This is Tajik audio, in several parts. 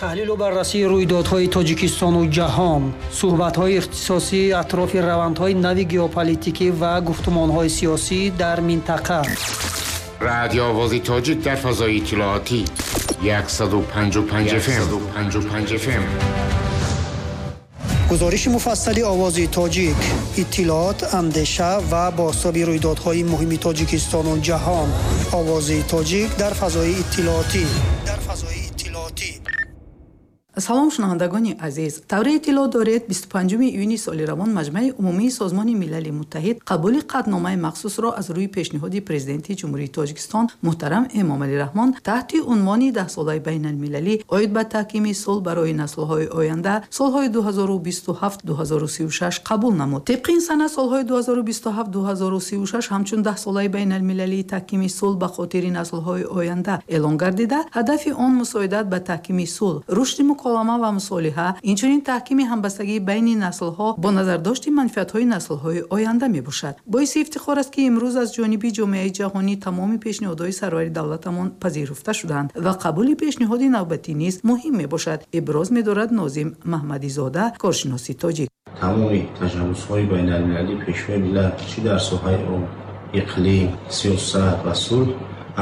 Таҳлилу баррасии рӯйдодҳои Тоҷикистону ҷаҳон, суҳбатҳои ихтисосӣ атрофи равандҳои нави геополитикӣ ва гуфтумонҳои сиёсӣ дар минтақа. Радио Овози Тоҷик дар фазои иттилоотӣ 155 FM. 155 FM. Гузориши муфассали Овози Тоҷик, иттилоот, андеша ва бозтоби рӯйдодҳои муҳими Тоҷикистону ҷаҳон. Овози Тоҷик дар фазои иттилоотӣ. Дар фазои иттилоотӣ. Салом, шунавандагони азиз! Тавре иттилоъ доред, 25 июни соли равон Маҷмаи умумии Созмони Милали Муттаҳид қабули қатъномаи махсусро аз рӯи пешниҳоди Президенти Ҷумҳурии Тоҷикистон муҳтарам Эмомалӣ Раҳмон таҳти унвони Даҳсолаи байналмилалӣ оид ба таҳкими сулҳ барои наслҳои оянда, солҳои 2027-2036 қабул намуд. Тибқи ин санад, солҳои 2027-2036 ҳамчун Даҳсолаи байналмилалии таҳкими сулҳ ба хотири наслҳои оянда эълон гардида, ҳадафи он мусоидат ба таҳкими сулҳ, рушди муколама ва мусолиҳа, инчунин таҳкими ҳамбастагии байни наслҳо бо назардошти манфиатҳои наслҳои оянда мебошад. Боиси ифтихор аст, ки имрӯз аз ҷониби ҷомеаи ҷаҳонӣ тамоми пешниҳодҳои сарвари давлатамон пазируфта шуданд ва қабули пешниҳоди навбатӣ низ муҳим мебошад, иброз медорад Нозим Маҳмадизода, коршиноси тоҷик. Тамоми ташаббусҳои байналмилалии Пешвои миллат, чӣ дар соҳаи об, иқлим, сиёсат ва сулҳ,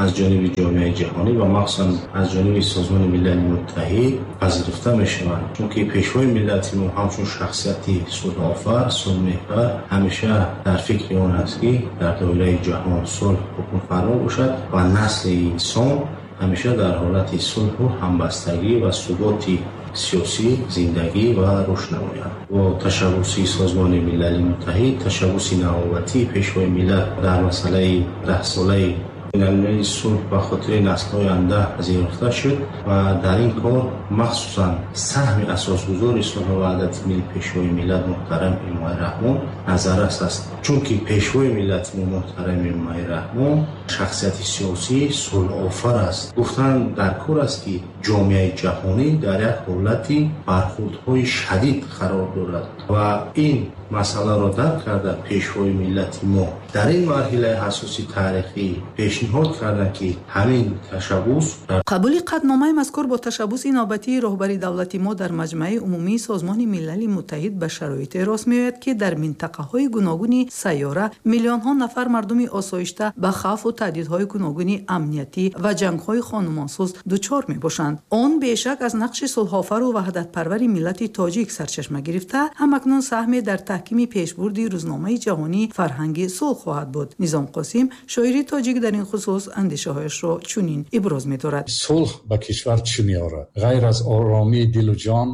аз ҷониби ҷомеаи ҷаҳонӣ ва махсусан аз ҷониби Созмони Милали Муттаҳид пазируфта мешаванд, чунки Пешвои миллати мо ҳамчун шахсияти сулҳофар, сулҳмеҳвар ҳамеша дар фикри он аст, ки дар доираи ҷаҳон сулҳ ҳукмфармо бошад ва насли инсон ҳамеша дар ҳолати сулҳу ҳамбастагӣ ва суботи сиёсӣ зиндагӣ ва рушд намояд. Бо ташаббуси Созмони Милали Муттаҳид ташаббуси навбатии Пешвои миллат дар масъалаи Даҳсолаи байналмилалии сулҳ ба хотири наслҳои оянда пазируфта шуд ва дар ин кор махсусан саҳми асосгузори сулҳу ваҳдати милли, Пешвои миллат муҳтарам Эмомалӣ Раҳмон назаррас аст, чунки Пешвои миллати мо муҳтарам Эмомалӣ Раҳмон шахсияти сиёсии сулҳофар аст. Гуфтан дар кор аст, ки ҷомеаи ҷаҳонӣ дар як ҳолати бархурдҳои шадид қарор дорад ва ин масъаларо дарк карда, Пешвои миллати мо дар ин марҳилаи ҳассоси таърихӣ пешниҳод карданд, ки ҳамин ташаббус Қабули қатъномаи мазкур бо ташаббуси навбатии роҳбари давлати мо дар Маҷмаи умумии Созмони Милали Муттаҳид ба шароите рост меояд, ки дар минтақаҳои гуногуни сайёра миллионҳо нафар мардуми осоишта ба хавфу таҳдидҳои гуногуни амниятӣ ва ҷангҳои хонумонсӯз дучор мебошанд. Он бешак аз нақши сулҳофару ваҳдатпарвари миллати тоҷик сарчашма гирифта, ҳамакнун саҳме дар таҳкими пешбурди рӯзномаи ҷаҳонии фарҳанги сулҳ хоҳад буд. Низом Қосим, шоири тоҷик, дар ин хусус андешаҳояшро чунин иброз медорад: Сулҳ ба кишвар чӣ меорад, ғайр аз оромии дилу ҷон,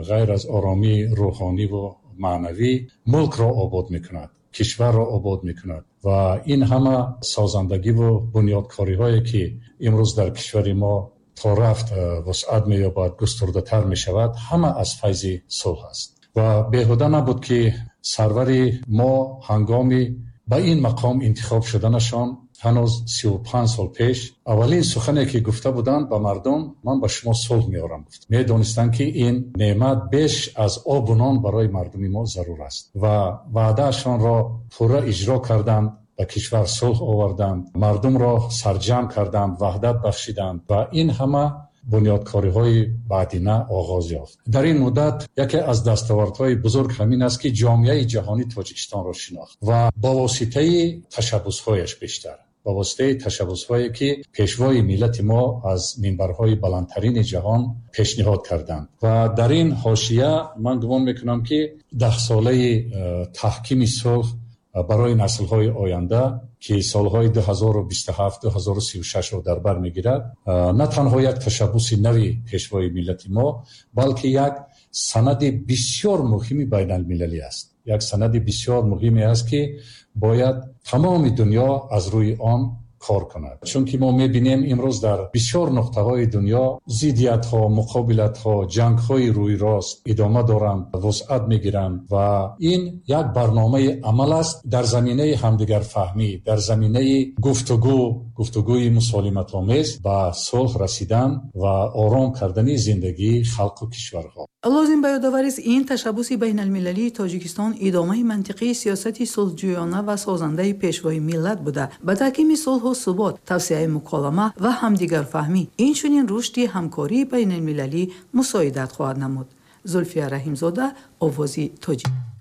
ғайр аз оромии рӯҳониву маънавӣ? Мулкро обод мекунад, кишварро обод мекунад ва ин ҳама созандагиву бунёдкориҳое, ки имрӯз дар кишвари мо то рафт вусъат меёбад, густурдатар мешавад, ҳама аз файзи сулҳ аст. Ва беҳуда набуд, ки сарвари мо ҳангоми ба ин мақом интихоб шуданашон, ҳанӯз 35 сол пеш, аввалин сухане ки гуфта буданд ба мардум: «Ман ба шумо сулҳ меорам», гуфт. Медонистанд, ки ин неъмат беш аз обу нон барои мардуми мо зарур аст ва ваъдаашонро пурра иҷро карданд, ба кишвар сулҳ оварданд, мардумро сарҷамъ карданд, ваҳдат бахшиданд ва ин ҳама бунёдкориҳои баъдина оғоз ёфт. Дар ин муддат яке аз дастовардҳои бузург ҳамин аст, ки ҷомеаи ҷаҳонӣ Тоҷикистонро шинохт ва ба воситаи ташаббусҳояш, бештар ба воситаи ташаббусҳое, ки Пешвои миллати мо аз минбарҳои баландтарини ҷаҳон пешниҳод карданд. Ва дар ин ҳошия ман гумон мекунам, ки Даҳсолаи таҳкими сулҳ барои наслҳои оянда, ки солҳои 2027-2036-ро дар бар мегирад, на танҳо як ташаббуси нави Пешвои миллати мо, балки як санади бисёр муҳими байналмилалӣ аст, як санади бисёр муҳиме аст, ки бояд тамоми дунё аз рӯи он кор кунад, чунки мо мебинем, имрӯз дар бисёр нуқтаҳои дунё зиддиятҳо, муқобилатҳо, ҷангҳои рӯйрост идома доранд, вусъат мегиранд ва ин як барномаи амал аст дар заминаи ҳамдигарфаҳмӣ, дар заминаи гуфтугӯ. гуфтугӯи мусолиматомез ба сулҳ расидан ва ором кардани зиндагии халқу кишварҳо. Лозим ба ёдоварист, ин ташаббуси байналмилалии Тоҷикистон идомаи мантиқии сиёсати сулҳҷӯёна ва созандаи Пешвои миллат буда, ба таҳкими сулҳу субот, тавсеаи муколама ва ҳамдигарфаҳмӣ, инчунин рушди ҳамкории байналмилалӣ мусоидат хоҳад намуд. Зулфия Раҳимзода, Овози Тоҷик.